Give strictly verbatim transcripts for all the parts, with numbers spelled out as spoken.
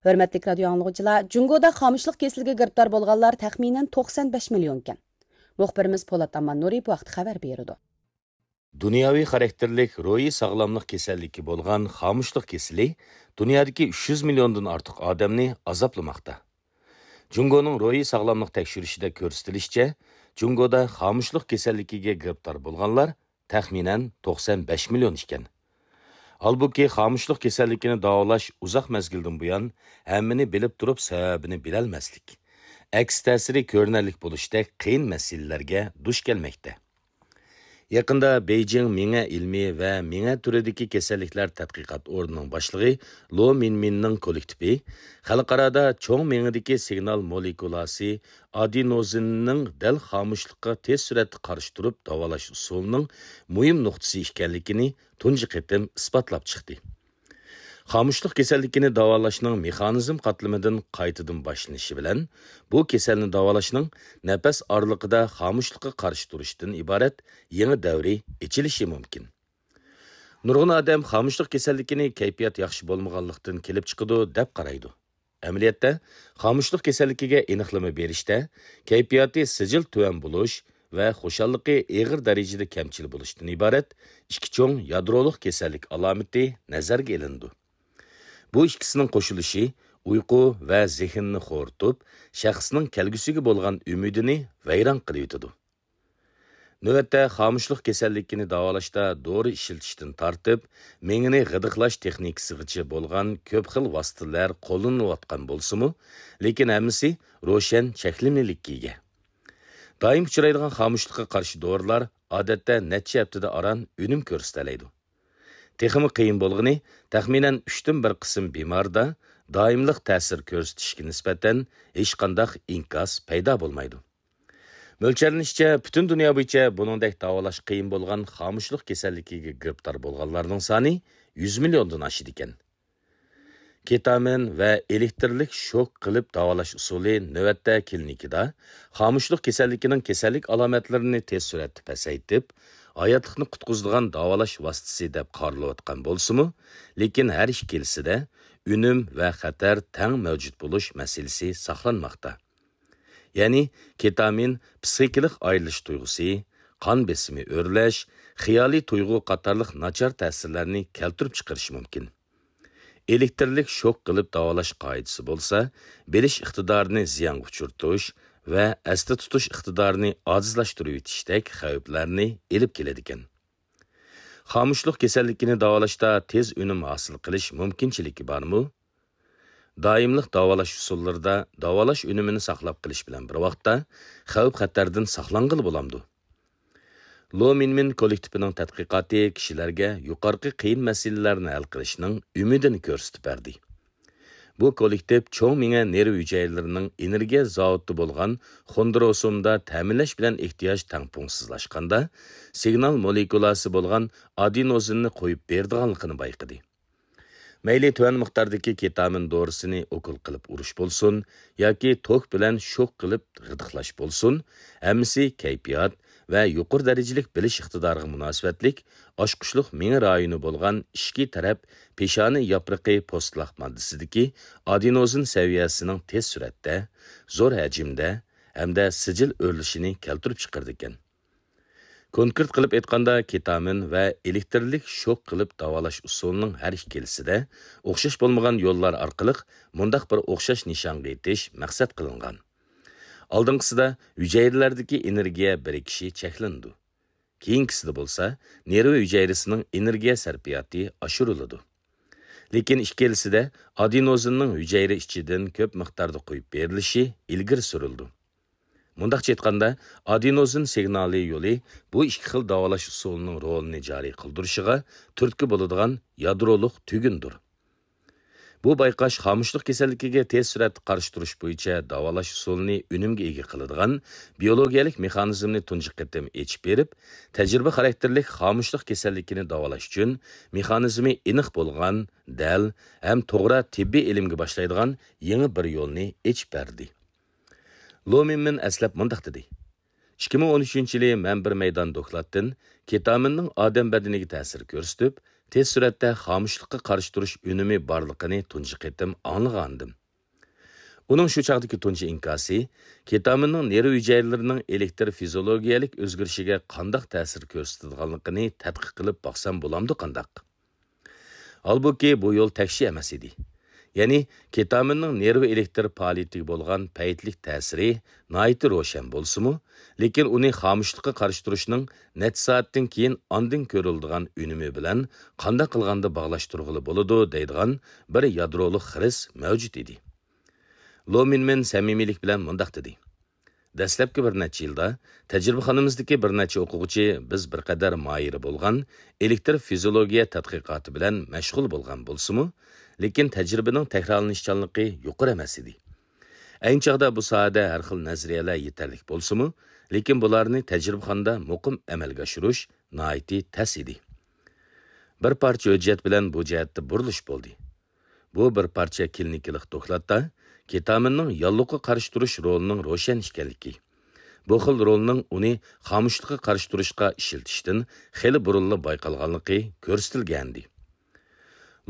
ھۆرمەتلىك رادىيو ئاڭلىغۇچىلار، جۇڭگودا خامۇشلۇق كېسىلىگە گىرىپتار بولغانلار تەخمىنەن توقسەن بەش مىليونكەن. مۇخبىرىمىز پولات ئاماننۇرى بۇ ھەقتە خەۋەر بېرىدۇ. دۇنياۋى خاراكتېرلىك روھىي ساغلاملىق كېسەللىكى بولغان خامۇشلۇق كېسىلى دۇنيادىكى ئۈچ يۈز مىليوندىن ئارتۇق ئادەمنى ئازابلىماقتا. جۇڭگونىڭ روھىي ساغلاملىق تەكشۈرۈشىدە كۆرسىتىلىشىچە، جۇڭگودا خامۇشلۇق كېسەللىكىگە گىرىپتار بولغانلار تەخمىنەن توقسەن بەش مىليون ئىكەن. ھالبۇكى، خامۇشلۇق كېسەللىكىنى داۋالاش ئۇزاق مەزگىلدىن بۇيان ھەممىنى بىلىپ تۇرۇپ سەۋەبىنى بىلەلمەسلىك، ئەكس تەسىرى كۆرۈنەرلىك بولۇشتەك قىيىن مەسىلىلەرگە دۇچ كەلمەكتە. يېقىندا بېيجىڭ مېڭە ئىلمىي ۋە مېڭە تۈرىدىكى كېسەللىكلەر تەتقىقات ئورنىنىڭ باشلىقى لو مىنمىننىڭ كوللېكتىپى خەلقئارادا چوڭ مېڭىدىكى سىگنال مولېكۇلاسى ئادېنوزىننىڭ دەل خامۇشلۇققا تېز سۈرئەتتە قارشى تۇرۇپ داۋالاش ئۇسۇلىنىڭ مۇھىم نۇقتىسى ئىكەنلىكىنى تۇنجى قېتىم ئىسپاتلاپ چىقتى. خامۇشلۇق كېسەللىكىنى داۋالاشنىڭ مېخانىزم قاتلىمىدىن قايتىدىن باشلىنىشى بىلەن، بۇ كېسەلنى داۋالاشنىڭ نەپەس ئارىلىقىدا خامۇشلۇققا قارشى تۇرۇشتىن ئىبارەت يېڭى دەۋرى ئېچىلىشى مۇمكىن. نۇرغۇن ئادەم خامۇشلۇق كېسەللىكىنى كەيپىيات ياخشى بولمىغانلىقتىن كېلىپ چىقىدۇ، دەپ قارايدۇ. ئەمەلىيەتتە، خامۇشلۇق كېسەللىكىگە ئېنىقلىما بېرىشتە، كەيپىياتى سىجىل تۆۋەن بولۇش ۋە خۇشاللىقى ئېغىر دەرىجىدە كەمچىل بولۇشتىن ئىبارەت ئىككى چوڭ يادرولۇق كېسەللىك ئالامىتى نەزەرگە ئېلىنىدۇ. بۇ ئىككىسىنىڭ قوشۇلۇشى ئۇيقۇ ۋە زېھىننى خورىتىپ، شەخسنىڭ كەلگۈسىگە بولغان ئۈمىدىنى ۋەيران قىلىۋېتىدۇ. نۆۋەتتە خامۇشلۇق كېسەللىكىنى داۋالاشتا دورا ئىشلىتىشتىن تارتىپ، مېڭىنى غىدىقلاش تېخنىكىسىغىچە بولغان كۆپ خىل ۋاسىتىلەر قوللىنىلىۋاتقان بولسىمۇ، لېكىن ھەممىسى روشەن چەكلىمىلىككە ئىگە. دائىم ئۇچرايدىغان خامۇشلۇققا قارشى دورىلار ئادەتتە نەچچە ھەپتىدە ئاران ئۈنۈم كۆرسىتەلەيدۇ. تېخىمۇ قىيىن بولغىنى، تەخمىنەن ئۈچتىن بىر قىسىم بىماردا دائىملىق تەسىر كۆرسىتىشكە نىسبەتەن ھېچقانداق ئىنكاس پەيدا بولمايدۇ. مۆلچەرلىنىشىچە، پۈتۈن دۇنيا بويىچە بۇنىڭدەك داۋالاش قىيىن بولغان خامۇشلۇق كېسەللىكىگە گىرىپتار بولغانلارنىڭ سانى يۈز مىليوندىن ئاشىدىكەن. كېتامىن ۋە ئېلېكتىرلىك شوك قىلىپ داۋالاش ئۇسۇلى نۆۋەتتە كلىنىكىدا خامۇشلۇق كېسەللىكىنىڭ كېسەللىك ئالامەتلىرىنى تېز سۈرئەتتە پەسەيتىپ، ھاياتلىقنى قۇتقۇزىدىغان داۋالاش ۋاسىتىسى دەپ قارىلىۋاتقان بولسىمۇ، لېكىن ھەر ئىككىلىسىدە ئۈنۈم ۋە خەتەر تەڭ مەۋجۇت بولۇش مەسىلىسى ساقلانماقتا. يەنى كېتامىن پىسخىكىلىق ئايرىلىش تۇيغۇسى، قان بېسىمى ئۆرلەش، خىيالىي تۇيغۇ قاتارلىق ناچار تەسىرلەرنى كەلتۈرۈپ چىقىرىشى مۇمكىن. ئېلېكتىرلىك شوك قىلىپ داۋالاش قائىدىسى بولسا، بىلىش ئىقتىدارىنى زىيانغا ئۇچرىتىش ۋە ئەستە تۇتۇش ئىقتىدارىنى ئاجىزلاشتۇرۇۋېتىشتەك خەۋپلەرنى ئېلىپ كېلىدىكەن. خامۇشلۇق كېسەللىكىنى داۋالاشتا تېز ئۈنۈم ھاسىل قىلىش مۇمكىنچىلىكى بارمۇ؟ دائىملىق داۋالاش ئۇسۇللىرىدا داۋالاش ئۈنۈمىنى ساقلاپ قېلىش بىلەن بىر ۋاقىتتا، خەۋپ-خەتەردىن ساقلانغىلى بولامدۇ؟ لو مىنمىن كوللېكتىپىنىڭ تەتقىقاتى كىشىلەرگە يۇقىرىقى قىيىن مەسىلىلەرنى ھەل قىلىشنىڭ ئۈمىدىنى كۆرسىتىپ بەردى. بۇ كوللېكتىپ چوڭ مېڭە نېرۋا ھۈجەيرىلىرىنىڭ ئېنېرگىيە زاۋۇتى بولغان خوندروسومدا تەمىنلەش بىلەن ئېھتىياج تەڭپۇڭسىزلاشقاندا، سىگنال مولېكۇلاسى بولغان ئادېنوزىننى قويۇپ بېرىدىغانلىقىنى بايقىدى. مەيلى تۆۋەن مىقداردىكى كېتامىن دورىسىنى ئوكۇل قىلىپ ئۇرۇش بولسۇن ياكى توك بىلەن شوك قىلىپ غىدىقلاش بولسۇن، ھەممىسى كەيپىيات ۋە يۇقىرى دەرىجىلىك بىلىش ئىقتىدارىغا مۇناسىۋەتلىك ئاچقۇچلۇق مېڭە رايونى بولغان ئىچكى تەرەپ پېشانە ياپرىقى پوستلاق ماددىسىدىكى ئادېنوزىن سەۋىيەسىنىڭ تېز سۈرئەتتە، زور ھەجىمدە ھەمدە سىجىل ئۆرلىشىنى كەلتۈرۈپ چىقىرىدىكەن. كونكرېت قىلىپ ئېيتقاندا، كېتامىن ۋە ئېلېكتىرلىك شوك قىلىپ داۋالاش ئۇسۇلىنىڭ ھەر ئىككىلىسىدە ئوخشاش بولمىغان يوللار ئارقىلىق مۇنداق بىر ئوخشاش نىشانغا يېتىش مەقسەت قىلىنغان. ئالدىنقىسىدا ھۈجەيرىلەردىكى ئېنېرگىيە بىرىكىشى چەكلىنىدۇ. كېيىنكىسىدە بولسا نېرۋا ھۈجەيرىسىنىڭ ئېنېرگىيە سەرپىياتى ئاشۇرۇلىدۇ. لېكىن ئىككىلىسىدە ئادېنوزىننىڭ ھۈجەيرە ئىچىدىن كۆپ مىقداردا قويۇپ بېرىلىشى ئىلگىرى سۈرۈلىدۇ. مۇنداقچە ئېيتقاندا، ئادېنوزىن سىگنالى يولى بۇ ئىككى خىل داۋالاش ئۇسۇلىنىڭ رولىنى جارى قىلدۇرۇشىغا تۈرتكە بولىدىغان يادرولۇق تۈگۈندۇر. بۇ بايقاش خامۇشلۇق كېسەللىكىگە تېز سۈرئەتتە قارشى تۇرۇش بويىچە داۋالاش ئۇسۇلىنى ئۈنۈمگە ئىگە قىلىدىغان بىيولوگىيەلىك مېخانىزمنى تۇنجى قېتىم ئېچىپ بېرىپ، تەجرىبە خاراكتېرلىك خامۇشلۇق كېسەللىكىنى داۋالاش ئۈچۈن مېخانىزمى ئېنىق بولغان، دەل ھەم توغرا تېببىي ئېلىمگە باشلايدىغان يېڭى بىر يولنى ئېچىپ بەردى. لو مىنمىن ئەسلەپ مۇنداق دېدى: «ئىككى مىڭ ئون ئۈچىنچى يىلى مەن بىر مەيدان دوكلاتتىن كېتامىننىڭ ئادەم بەدىنىگە تەسىر كۆرسىتىپ، تېز سۈرئەتتە خامۇشلۇققا قارشى تۇرۇش ئۈنۈمى بارلىقىنى تۇنجى قېتىم ئاڭلىغانىدىم. ئۇنىڭ شۇ چاغدىكى تۇنجى ئىنكاسى كېتامىننىڭ نېرۋا ھۈجەيرىلىرىنىڭ ئېلېكتر فىزىئولوگىيەلىك ئۆزگىرىشىگە قانداق تەسىر كۆرسىتىدىغانلىقىنى تەتقىق قىلىپ باقسام بولامدۇ قانداق؟ ھالبۇكى، بۇ يول تەكشى ئەمەس ئىدى. يەنى، كېتامىننىڭ نېرۋا ئېلېكتر پائالىيىتىگە بولغان پەيتلىك تەسىرى ناھايىتى روشەن بولسىمۇ، لېكىن ئۇنى خامۇشلۇققا قارشى تۇرۇشنىڭ نەچچە سائەتتىن كېيىن ئاندىن كۆرۈلىدىغان ئۈنۈمى بىلەن قانداق قىلغاندا باغلاشتۇرغىلى بولىدۇ دەيدىغان بىر يادرولۇق خىرىس مەۋجۇت ئىدى. لو مىنمىن سەمىمىيلىك بىلەن مۇنداق دېدى: دەسلەپكى بىر نەچچە يىلدا تەجرىبىخانىمىزدىكى بىر نەچچە ئوقۇغۇچى بىز بىر قەدەر ماھىرى بولغان ئېلېكتر فىزىئولوگىيە تەتقىقاتى بىلەن مەشغۇل بولغان بولسىمۇ، لېكىن تەجرىبىنىڭ تەكرارلىنىشچانلىقى يۇقىرى ئەمەس ئىدى. ئەينى چاغدا بۇ ساھەدە ھەر خىل نەزەرىيەلەر يېتەرلىك بولسىمۇ، لېكىن بۇلارنى تەجرىبىخانىدا مۇقىم ئەمەلگە ئاشۇرۇش ناھايىتى تەس ئىدى. بىر پارچە ھۆججەت بىلەن بۇ جەھەتتە بۇرۇلۇش بولدى. بۇ بىر پارچە كلىنىكىلىق دوكلاتتا كېتامىننىڭ ياللۇغقا قارشى تۇرۇش رولىنىڭ روشەن ئىكەنلىكى، بۇ خىل رولنىڭ ئۇنى خامۇشلۇققا قارشى تۇرۇشقا ئىشلىتىشتىن خېلى بۇرۇنلا بايقالغانلىقى كۆرسىتىلگەنىدى.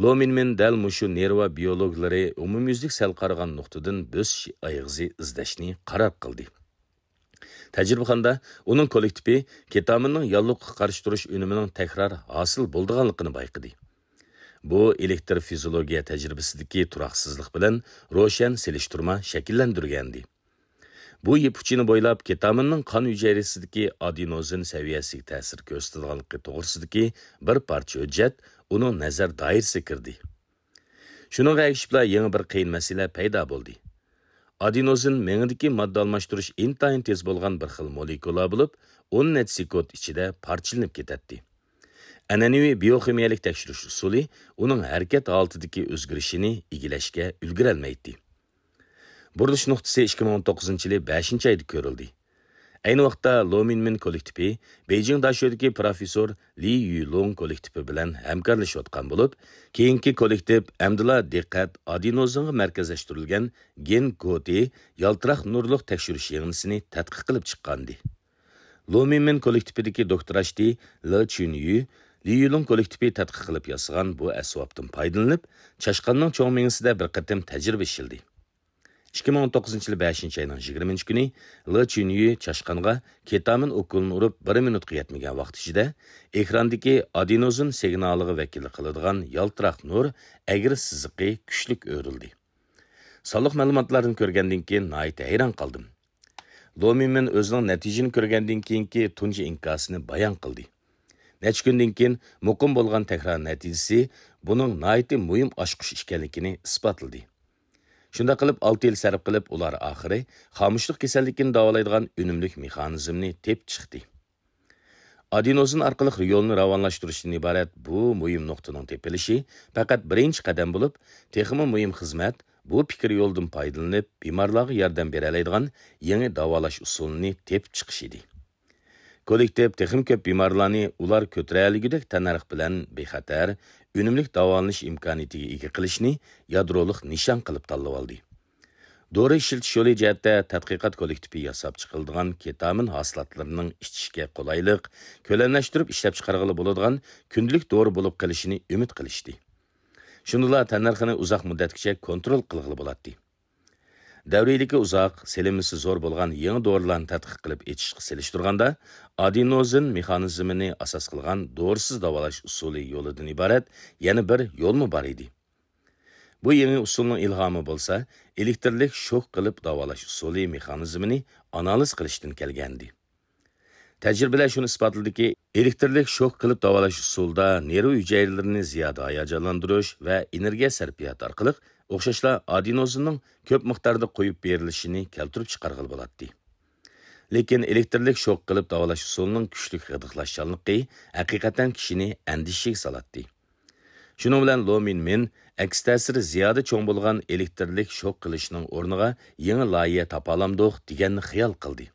لو مىنمىن دەل مۇشۇ نېرۋا بىيولوگلىرى ئومۇميۈزلۈك سەل قارىغان نۇقتىدىن بۆسۈش ئايىغىزى ئىزدەشنى قارار قىلدى. تەجرىبىخانىدا ئۇنىڭ كوللېكتىپى كېتامىننىڭ ياللۇغقا قارشى تۇرۇش ئۈنۈمىنىڭ تەكرار ھاسىل بولىدىغانلىقىنى بايقىدى. بۇ ئېلېكتر فىزىئولوگىيە تەجرىبىسىدىكى تۇراقسىزلىق بىلەن روشەن سېلىشتۇرما شەكىللەندۈرگەنىدى. بۇ يىپ ئۇچىنى بويلاپ كېتامىننىڭ قان ھۈجەيرىسىدىكى ئادېنوزىن سەۋىيەسىگە تەسىر كۆرسىتىدىغانلىقى توغرىسىدىكى بىر پارچە ھۆججەت ئۇنىڭ نەزەر دائىرىسىگە كىردى. شۇنىڭغا ئەگىشىپلا يېڭى بىر قىيىن مەسىلە پەيدا بولدى. ئادېنوزىن مېڭىدىكى ماددا ئالماشتۇرۇش ئىنتايىن تېز بولغان بىر خىل مولېكۇلا بولۇپ، ئون نەچچە سېكۇنت ئىچىدە پارچىلىنىپ كېتەتتى. ئەنئەنىۋى بىيوخىمىيەلىك تەكشۈرۈش ئۇسۇلى ئۇنىڭ ھەرىكەت ھالىتىدىكى ئۆزگىرىشىنى ئىگىلەشكە ئۈلگۈرەلمەيتتى. بۇرۇلۇش نۇقتىسى ئىككى مىڭ ئون توققۇزىنچى يىلى بەشىنچى ئايدا كۆرۈلدى. ئەينى ۋاقىتتا لو مىنمىن كوللېكتىپى بېيجىڭ داشۆدىكى پروفېسسور لى يۈلۇڭ كوللېكتىپى بىلەن ھەمكارلىشىۋاتقان بولۇپ، كېيىنكى كوللېكتىپ ئەمدىلا دىققەت ئادېنوزىنغا مەركەزلەشتۈرۈلگەن گېن گوتى يالتىراق نۇرلۇق تەكشۈرۈش يىغىندىسىنى تەتقىق قىلىپ چىققانىدى. لو مىنمىن كوللېكتىپىدىكى دوكتور ئاشتى لې چۈنيۈ لى يۈلۇڭ كوللېكتىپى تەتقىق قىلىپ ياسىغان بۇ ئەسۋابتىن پايدىلىنىپ، چاشقاننىڭ چوڭ مېڭىسىدە بىر قېتىم تەجرىبە ئىشلىدى. ئىككى مىڭ ئون توققۇزىنچى يىلى بەشىنچى ئاينىڭ يىگىرمىنچى كۈنى لې چۈنيۈ چاشقانغا كېتامىن ئوكۇلىنى ئۇرۇپ بىر مىنۇتقا يەتمىگەن ۋاقىت ئىچىدە ئېكراندىكى ئادېنوزىن سىگنالىغا ۋەكىللىك قىلىدىغان يالتىراق نۇر ئەگرى سىزىقى كۈچلۈك ئۆرۈلدى. سانلىق مەلۇماتلاردىن كۆرگەندىن كېيىن ناھايىتى ھەيران قالدىم. لو مىنمىن ئۆزىنىڭ نەتىجىنى كۆرگەندىن كېيىنكى تۇنجى ئىنكاسىنى بايان قىلدى. نەچچە كۈندىن كېيىن مۇقىم بولغان تەكرار نەتىجىسى بۇنىڭ ناھايىتى مۇھىم ئاچقۇچ ئىكەنلىكىنى ئىسپاتلىدى. شۇنداق قىلىپ، ئالتە يىل سەرپ قىلىپ، ئۇلار ئاخىرى خامۇشلۇق كېسەللىكىنى داۋالايدىغان ئۈنۈملۈك مېخانىزمنى تېپىپ چىقتى. ئادېنوزىن ئارقىلىق يولنى راۋانلاشتۇرۇشتىن ئىبارەت بۇ مۇھىم نۇقتىنىڭ تېپىلىشى پەقەت بىرىنچى قەدەم بولۇپ، تېخىمۇ مۇھىم خىزمەت بۇ پىكىر يولىدىن پايدىلىنىپ، بىمارلارغا ياردەم بېرەلەيدىغان يېڭى داۋالاش ئۇسۇلىنى تېپىپ چىقىش ئىدى. كوللېكتىپ تېخىمۇ كۆپ بىمارلارنى ئۇلار كۆتۈرەلىگۈدەك تەننەرخ بىلەن بىخەتەر، ئۈنۈملۈك داۋالىنىش ئىمكانىيىتىگە ئىگە قىلىشنى يادرولۇق نىشان قىلىپ تاللىۋالدى. دورا ئىشلىتىش يولى جەھەتتە تەتقىقات كوللېكتىپى ياساپ چىقىلىدىغان كېتامىن ھاسىلاتلىرىنىڭ ئىچىشكە قولايلىق، كۆلەملەشتۈرۈپ ئىشلەپچىقارغىلى بولىدىغان كۈندىلىك دورا بولۇپ قېلىشىنى ئۈمىد قىلىشتى. شۇندىلا تەننەرخىنى ئۇزاق مۇددەتكىچە كونترول قىلغىلى بولاتتى. دەۋرىيلىكى ئۇزاق، سېلىنمىسى زور بولغان يېڭى دورىلارنى تەتقىق قىلىپ ئېچىشقا سېلىشتۇرغاندا، ئادېنوزىن مېخانىزمىنى ئاساس قىلغان دورىسىز داۋالاش ئۇسۇلى يولىدىن ئىبارەت يەنە بىر يولمۇ بار ئىدى. بۇ يېڭى ئۇسۇلنىڭ ئىلھامى بولسا، ئېلېكترلىك شوك قىلىپ داۋالاش ئۇسۇلى مېخانىزمىنى ئانالىز قىلىشتىن كەلگەنىدى. تەجرىبىلەر شۇنى ئىسپاتلىدىكى، ئېلېكترلىك شوك قىلىپ داۋالاش ئۇسۇلىدا نېرۋا ھۈجەيرىلىرىنى زىيادە ھاياجانلاندۇرۇش ۋە ئېنېرگىيە سەرپىياتى ئارقىلىق ئوخشاشلا ئادېنوزىننىڭ كۆپ مىقداردا قويۇپ بېرىلىشىنى كەلتۈرۈپ چىقارغىلى بولاتتى. لېكىن ئېلېكترلىك شوك قىلىپ داۋالاش ئۇسۇلىنىڭ كۈچلۈك غىدىقلاشچانلىقى ھەقىقەتەن كىشىنى ئەندىشىگە سالاتتى. شۇنىڭ بىلەن لو مىنمىن ئەكس تەسىرى زىيادە چوڭ بولغان ئېلېكترلىك شوك قىلىشنىڭ ئورنىغا يېڭى لايىھە تاپالامدۇق دېگەننى خىيال قىلدى.